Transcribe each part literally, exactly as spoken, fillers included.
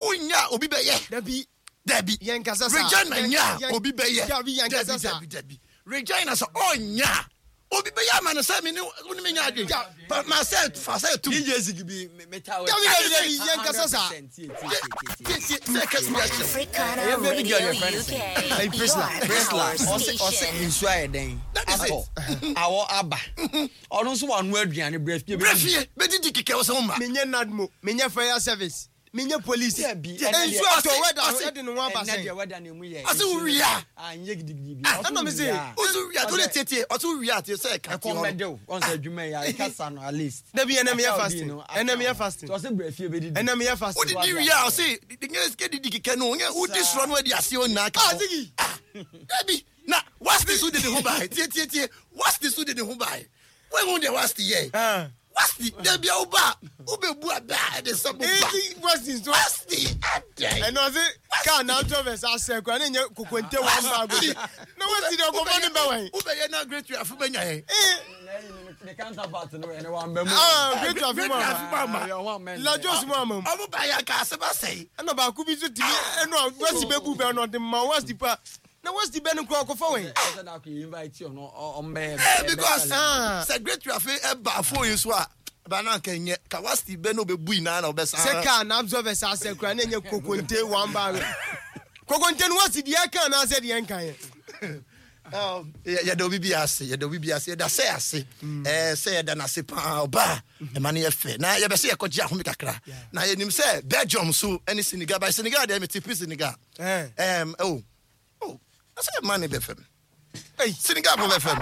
Wonya obi bɛyɛ. Dabi. Dabi. Yɛnkasa saa. Regina nya Yɛn- obi bɛyɛ. Dabi, yɛnkasa saa. Dabi, dabi. Regina sɛ ɔnya obi bɛyɛ ama no sɛ me ne wo ne me nya adwen. Pa- Ma sɛ fa sɛ tum. D J Ziggy bi me me ta. Dabi, dabi, dabi, yɛnkasa saa. Tie, tie, sɛ kɛse bi akyerɛ wo. Africana Ɛyɛ baby girl Radio your friend U K. Hey, Priscilla. Your Priscilla, power ɔse ɔse station. nsuo ayɛ dɛn? That is it. Atɔ. Awɔ aba. Ɔno nso wano aduane brɛ fie. Brɛ fie bɛdidi kekɛ wo sɛ wo ma. Menyɛ NADMO, menyɛ fire service, menyɛ police. Dabi, ɛnɛ Nsuo deɛ- atɔ wɛda ɔse- ɛde ne ho aba Ɛnɛ deɛ sɛn. wɛda ne mu yɛ. Ɔse wo wie a. Ah, nyɛ gidigidi bi. Ah, Ɔse ɛna me wo se, wie a. Woso wie a, wode tietie, ɔso wo wie a, tie sɛ ɛka tie Ɛkɔm hɔ no. bɛde wo. Ɔn sɛ adwuma yi a, ɛkasa no at least. Dabi, ɛnɛ meyɛ Aka wo fasting. di no, Ɛnɛ aka meyɛ wo. fasting. Nti ɔse brɛ fie bɛdidi. Ɛnɛ meyɛ fasting. Wodidi wie a, ɔse nyɛ sika didi kekɛ no, nyɛ wodi soro no adi aseɛ nyinaa ka Ah, ho. Ziggy. Ah, dabi, na wasti so de ne ho bae. Tie, tie, tie. Wasti so de ne ho bae. Woahu deɛ wasti yɛ? Ah. Wasti, dabi a woba a, wobɛbu abɛ a ɛde sɛ mo ba. Eti fasting so. Wasti, adɛn? Ɛnna ɔse kaa na absorbers asɛ kora ne nyɛ kokonte one bag o. Na wasi deɛ ɔkɔfa ne bɛ wɛn. Wobɛyɛ na Great Afi bɛnya yɛn. Eh, Ne counterpart no, ɛnɛ wamba mu. ah, Great Afi mu Great Afi ama. mu ama. Lajos mu ama mu. Ɔmo ba yɛ aka asɛm asɛe. Ɛnna baako bi nso tumi ɛnna wasi bɛbu bɛ ɛnna ɔde ma wasi pa. Na wasi bɛ no kora ɔkɔfa wɛn. Ɔsɛ da ko invite ɔno ɔmbɛyɛ. Eh, because Ah. sɛ Great Afi ɛba phone yi so a, ba na nka nyɛ ka wasti bɛ na ɔbɛbu nyinaa na ɔbɛsa. Sɛ kaa na absorbers asɛ kora ne nyɛ kokonte one bag. Kokonte no wasi deɛ ɛka anaasɛ deɛ nka yɛ. Um, yɛ- yɛda obi bi ase, yɛda obi bi ase, yɛda sɛ ase, ɛɛ sɛ yɛda n'ase paa. Ɔbaa ɛma no yɛ fɛ na yɛbɛ sɛ yɛkɔgye ahome kakra na yɛnim sɛ Belgium so ɛne Senegal ba. Senegal deɛ, mete pi Senegal. Eh. ɛm oh oh ɛsɛ ɛma ne bɛ fam. Ei. Senegal bɔ bɛ fam.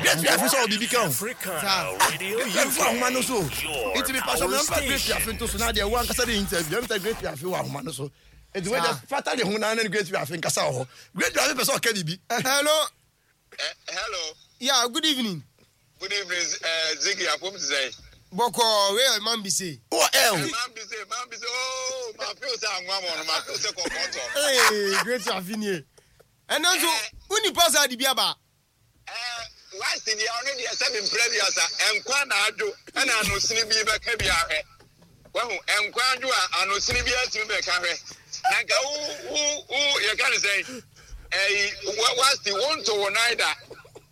Great Afi sɛ ɔbibi ka ho. Africana Radio Great Afi ahoma no so. U K. Nti mi pasɔ mi nfa Great Afi nto so na deɛ wo ankasa de interview ɛmi sɛ Great Afi wɔ ahoma no so, nti wei deɛ fata de ho na ne Great Afi nkasa wɔ hɔ. Great Afi pɛ sɛ ɔka bibi. Hello. Eh, hello. Yeah, good evening. Good evening, uh, Ziggy. Apom te sɛ? Bɔkɔɔ, wei yɛ man bi se. Wɔ ɛ o. Man bi se, man bi se, oh, ma feel sɛ anwa mɔ no, ma feel sɛ kɔkɔɔ tɔ. Hey, Great Afi nie. Ɛnɛ nso, wo nipa saa de bi aba. Eh, wasi deɛ, ɔno deɛ sɛ mi mpere bi asa, nkwa na adwo, ɛna anosini bi bɛka bi ahwɛ. Wahu, nkwa adwo a anosini bi atumi bɛka hwɛ. Na nka wo wo wo yɛka ne sɛn? Ɛyi, wa wasi wo nto wo nan da.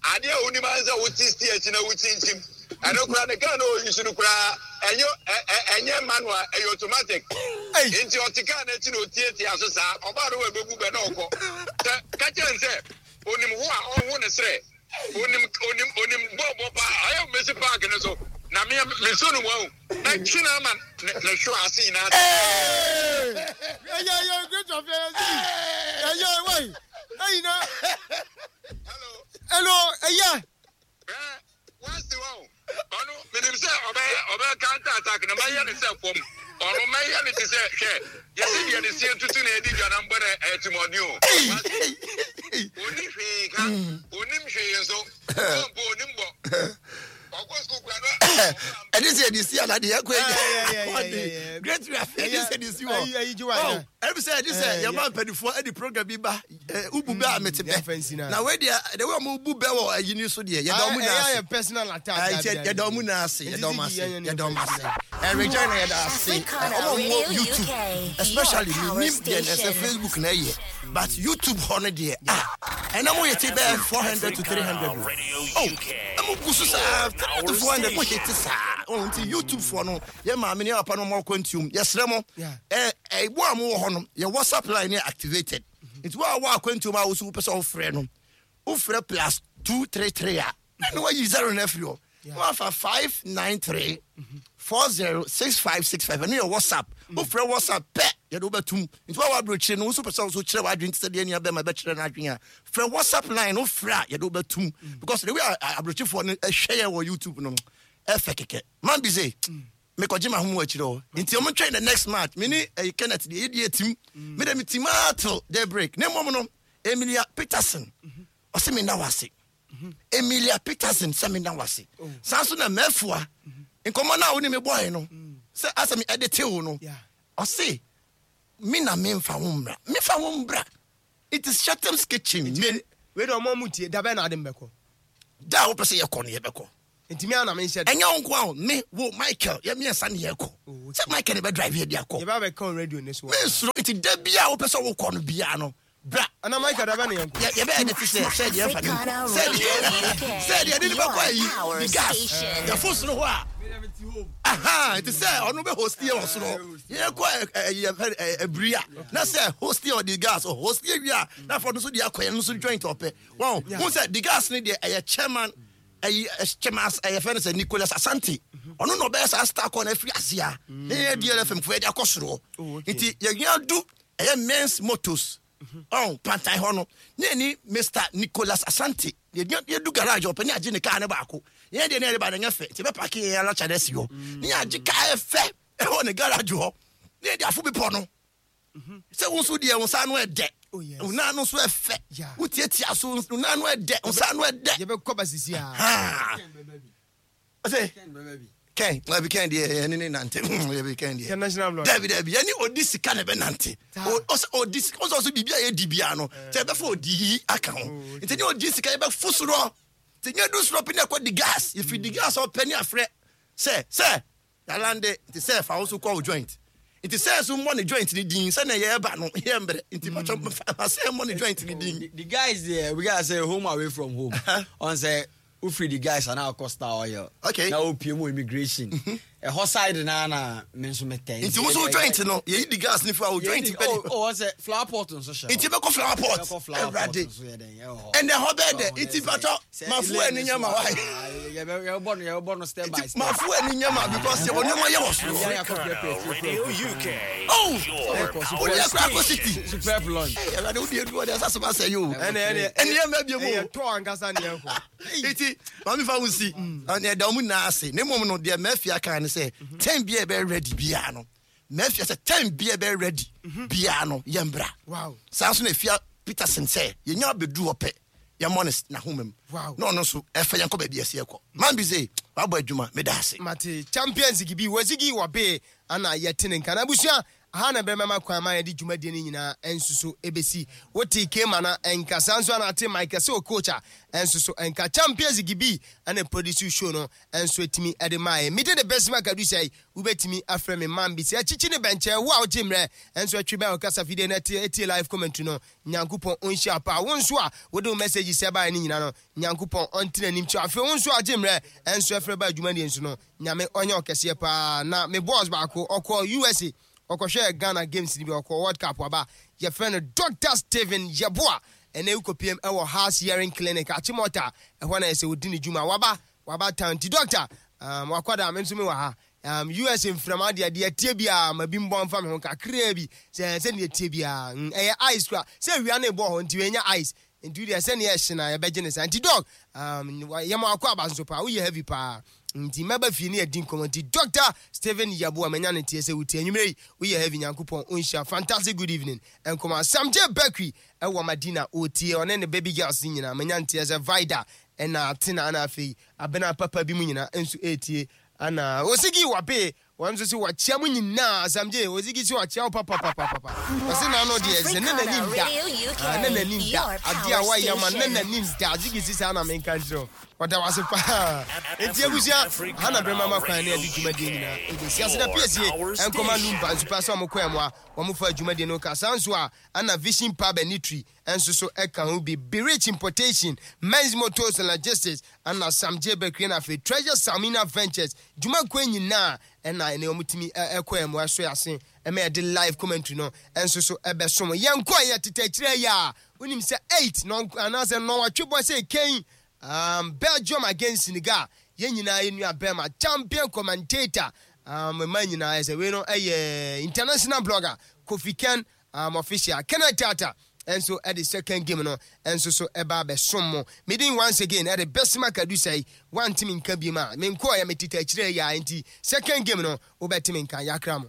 Adeɛ a wonim ara sɛ wote sti akyi na wokyinkyim. Ɛno koraa ne kaa na oyi so no koraa, ɛnyɛ ɛ ɛ ɛnyɛ manual, ɛyɛ automatic. Ei. Nti ɔte kaa n'akyi na otietie so saa, ɔbaa no wɔ ebebu bɛ na ɔkɔ sɛ kakyɛ n sɛ onim ho a ɔho ne serɛ, onim onim onim bɔɔbɔ paa, ayɛ Messi park ne so na me me so no wɔn na twi na ama ne ne hwɛ ase nyinaa. Ɛyɛ ɛyɛ Great Afi ɛyɛ Ziggy. Ɛyɛ wai. Ɛyi na. Hello. Hello, ɛyɛ. Ɛ wasi wɔn ɔno menim sɛ ɔbɛyɛ ɔbɛyɛ counter attack na mɛyɛ ne sɛ fam, ɔno mɛyɛ ne ti sɛ hwɛ yɛsi deɛ ne sie tutu na edi dwa na mbɔ na ɛtimɔden o. Oni hwee ka, onim hwee nso ɔmpo onim bɔ ɔkɔ sukuu kura no. Ɛde sɛ yɛde si ana deɛ ɛkɔ Yeah, yeah, yeah, yeah, yeah, yi yeah. Great Afi ɛde sɛ yɛde si wɔ. Ayi, ayi, gye wa, yeah. Ɛbi sɛ ɛde sɛ Eh, yɛma mpanimfoɔ ɛde program bi ba ɛ, ubu bɛ a mete yɛmfa nsi bɛ na. Na wei deɛ, the way ɔmo bu bɛ wɔ ayi ni so deɛ, yɛda ɔmo Ɛyɛ nyinaa ase. ayɛ personal attack. Ah, nti Dabi, yɛda dabi. ɔmo nyinaa ase, yɛda ɔmo ase, Nti Ziggy, yɛda ɔmo ase. Ɛ Regina, yɛda ase. Ɛ, Africana ɔmo a ɔmo wɔ Radio YouTube U K, especially your power mi nim deɛ na ɛsɛ station. Facebook na ɛyɛ, but YouTube hɔ no deɛ, ah, ɛna mo yɛ ti bɛyɛ four hundred to three hundred Africana Radio o. U K. Ɛmo gu so saa three to four hundred mo hit saa ɔn. Nti YouTube foɔ no, yɛ maame ne yɛ papa no, ɔmo akɔ ntiom, yɛsrɛ mo. Yeah. ɛ ɛ wo a mo wɔ hɔ no, yɛ WhatsApp line yɛ activated, nti wo a wɔ akwantuom a woso wopɛ sɛ wofrɛ no, wofrɛ plus two three three a ɛna wayi zero no afiri hɔ na wafa five nine three four zero six five six five. Ɛno yɛ WhatsApp. Wofrɛ WhatsApp pɛ, yɛde wobɛtum. Nti woa wabrɛkyire no, wo nso pɛ sɛ wo so kyerɛ w'adwene te sɛ deɛ nua bɛma bɛkyerɛ no adwene a, frɛ WhatsApp line no. Wofrɛ a, yɛde wobɛtum because the way a abrɛkyifoɔ no ɛhwɛ yɛ wɔ YouTube no, ɛfɛ kɛkɛ. Man bi sɛ mekɔgye ma ho akyirɛ hɔ, nti ɔmo twɛn the next match. Me ne ɛyi Kenneth deɛ, yɛdi atim mede me tim aa till day break. Ne mmom no, Emilia Peterson ɔsɛ menda wase. Emilia Peterson sɛ menda wase. Saa nso na mɛfoa nkɔmmɔ no a wo ne me bɔe no sɛ asɛ me ɛde tew no. Yeah. Ɔse me na memfa wo mmra, mefa wo mbra. It is Shetham's Kitchen. Me Wei de, ɔmo ɔmo tie dabɛ na ade mbɛkɔ. Da a wopɛ sɛ yɛkɔ no, yɛbɛkɔ. Nti me ana menhyɛ. Ɛnyɛ wo nko a o, me, wo, Michael, yɛ mmiɛnsa ne yɛkɔ. Sɛ Michael ne bɛdrive yɛ de akɔ. Yɛbɛ abɛka on radio ne so. Mensuro, nti da biaa wopɛ sɛ wokɔ no biaa no, bra. Ana Michael da bɛ ne yɛnkɔ. Yɛ yɛbɛyɛ de te sɛ sɛ deɛ ɛmfa ne nkɔ. Sɛ deɛ sɛ deɛ ɛde ne bɛkɔ ayi di gas. Yɛfo soro hɔ a. Aha, nti sɛ ɔno bɛ host yɛ wɔ soro. Yɛkɔ ɛyɛ abiri a na sɛ host yɛ ɔde gas, host yɛ wie a na afɔ no so de akɔ yɛn nso joint ɔpɛ. Wɔn, hun sɛ di gas ne deɛ ɛyɛ chairman, ɛyi chairman ɛyɛ fɛn sɛ Nicholas Asante. Ɔno na ɔbɛyɛ saa star kɔ na afiri aseɛ. Ne yɛ D L F M fo yɛde akɔ soro. Nti yɛhia du ɛyɛ Men's Motors. Ɔn pantan hɔ no ne ni Mister Nicholas Asante yɛdu garage, ɔpɛ ne agye ne kaa ne baako. Yɛn deɛ ne yɛde ba ne nyɛ fɛ, nti yɛbɛ park yɛn ala kyɛ si hɔ ne yɛagye kaa ɛfɛ ɛwɔ ne garage hɔ ne yɛde afo bepɔ no sɛ wo nso deɛ wo nsa ano ɛdɛ. Oh, yes. Wo nan no nso ɛfɛ. Yeah. Wotiatia so, wo nan no ɛdɛ, wo nsa ano ɛdɛ. Yɛbɛkɔ ba sisi a. Ha ɔsɛ kɛn ɛbi kɛn deɛ yɛne ne nante ɛbi kɛn deɛ. Kɛn national blood. Dabi, dabi, yɛne odi sika na ɛbɛ nante. Saa. O- ɔsɛ odi sika, ɔsɛ ɔsɛ biribi a yɛdi bia no sɛ ɛbɛfa odi yi aka ho, nti ne odi sika yɛbɛfo soro nti nyɛ du soro pɛ ne ɛkɔ di gas, yɛfiri di gas a ɔpɛ ne afrɛ sɛ sɛ yalande, nti sɛ fa wo so kɔ wo joint, nti sɛ so mmɔ ne joint ne din sɛ na yɛreba no yɛ mbrɛ, nti patwɔ fa sɛ mmɔ ne joint ne din. The, the guys there, we gotta say home away from home. On say wofiri the guys ana akɔ Star Oil. Okay. Na wopie mu immigration. Ɛhɔ side na na me nso metɛ. Nti wo so wo joint no yɛyi di gas ne fi a wo joint pɛ Oh, ni oh, ɔn sɛ flower pot nso hyɛ. Nti bɛkɔ flower pot. Bɛkɔ flower pot Awurade. nso yɛ dɛn ɛwɔ hɔ. Ɛnɛ hɔ bɛɛ dɛ, nti patwɔ mafo ani nyɛ ma wa. Yɛbɛbɔ no yɛbɛbɔ no step by step. Mafo ani nyɛ ma because yɛwɔ nneɛma yɛ wɔ soro. Yɛn akɔ prepare. Radio U K. Oh, Your wode power akora akɔ station. city. Superb lunch. Hey, Awurade, wode adu hɔ deɛ ɛsɛ asɛm asɛ yi o. Ɛnɛ ɛnɛ Ɛne yɛ mma bio mu o. ɛyɛ tɔ ankasa ne yɛnkɔ. Nti maame fa wo si ɛna ɛda ɔmo nyinaa ase, na mmom no deɛ mafia kan ne sɛ ten bia ɛbɛyɛ ready biara no, mafia sɛ ten bia ɛbɛyɛ ready biara no yɛmbra. Wow. Saa nso na efia Peterson sɛ yɛnya abɛdu hɔ pɛ yɛmmɔ ne s- n'ahoma mu. Wow. Na ɔno nso ɛfɛ yɛnkɔ baabi ɛsɛ yɛkɔ. Man bi sɛ wabɔ adwuma, meda ase. Mate, champions gibi wɔsigi wɔ bee ana yɛte ne nka na abusua aha na bɛrɛ kwan ma yɛde dwumadie no nyinaa ɛnso so ɛbɛsi. Wote kema na ɛnka saa nso ana ate Michael sɛ o coach a ɛnso so ɛnka champions gibi ɛna produce show no ɛnso ɛtumi ɛde maa yɛ. Mede de bɛsi maka du sɛ wobɛtumi afrɛ me man bi sɛ akyikyi ne bɛnkyɛ wo a wogye mmerɛ ɛnso atwi bɛn ɔkasa fidie no ɛtie ɛtie live commentary no. Nyankopɔn ɔnhyia paa. Wo nso a wode wo message sɛ baeɛ no nyina no, Nyankopɔn ɔntena anim kyerɛ. Afei wo nso a agye mmerɛ ɛnso ɛfrɛ ba adwumadeɛ nso no, Nyame ɔnyɛ ɔkɛseɛ paa. Na me boss baako ɔkɔ U S A ɔkɔhwɛ Ghana games ni bi, ɔkɔ World Cup aba, yɛfrɛ no Doctor Stephen Yeboa. Ɛnɛ wokɔpiem ɛwɔ House Hearing Clinic Achimota, ɛhɔ na ɛsɛ wɔdi ne dwuma. Waba waba town, nti doctor um, wakɔda me nso me wɔ ha um, U S A mframa deɛ deɛ tie biara ma bi mbɔ mfa me ho kakraa bi sɛ sɛdeɛ tie biara mm, ɛyɛ ice kora sɛ awia no ɛbɔ hɔ nti wɔanya ice, nti deɛ sɛneɛ ɛhye na yɛbɛgye ne saa. Nti doc um, yɛma akɔ aba nso paa, woyɛ heavy paa, nti mɛba fie ne yɛdi nkɔmmɔ. Nti Doctor Stephen Yaboa, manya ne tie sɛ wotie anwummerɛ yi, woyɛ heavy. Nyankopɔn ɔnhyia. Fantastic good evening nkɔmmɔ. Samgye Bakery ɛwɔ Madina, ɔtie ɔne ne baby girls nyinaa. Manya nteɛ sɛ Vida ɛna Atena ana afei abena papa bi mu nyinaa nso ɛtie ana Osigi wabe wɔn nso sɛ wakyia mu nyinaa. Samgye Osigi sɛ wakyia wo papapapapa. Ɔse n'ano deɛ sɛ ne n'anim da. Ah, ne n'anim da adeɛ a wayɛ ma ne n'anim da. Osigi si saa na menka nkyerɛ wo, ɔda wase paa. Enti abusua ha na berɛ mama kwan ne ade dwumadie nyinaa ɛbɛsi ase da piesie ɛnkɔma Lumba nso pa sɛ ɔmo kɔɛ mu a wɔmo fa dwumadie no ka saa nso a ana Vision Pub and Eatery ɛnso so ɛka ho bi, Berich Importation, Men's Motors and Logistics, ana Sam J Bakery na afei Treasure Salmina Ventures. Dwumakuo nyinaa ɛna ɛne wɔn tumi ɛkɔɛ mu ɛso ase ɛmɛ yɛde live commentary no ɛnso so ɛbɛsom yɛn kɔ yɛ tete akyire yi a wonim sɛ eight nɔn anaasɛ nɔnwatwe bɔ sɛ kɛn um, Belgium against Senegal. Yɛn nyinaa yɛ nua bɛrima champion commentator um, mma nyinaa yɛ sɛ wei no ɛyɛ international blogger Kofi Ken um, official Kenneth Tata ɛnso ɛde second game no ɛnso so ɛba abɛsom mo. Medin once again ɛde Bɛsima Kadusa yi wantimi nka bi mu a menkɔɔ yɛ metete akyire yi a, nti second game no wobɛtumi nka yɛakra mo.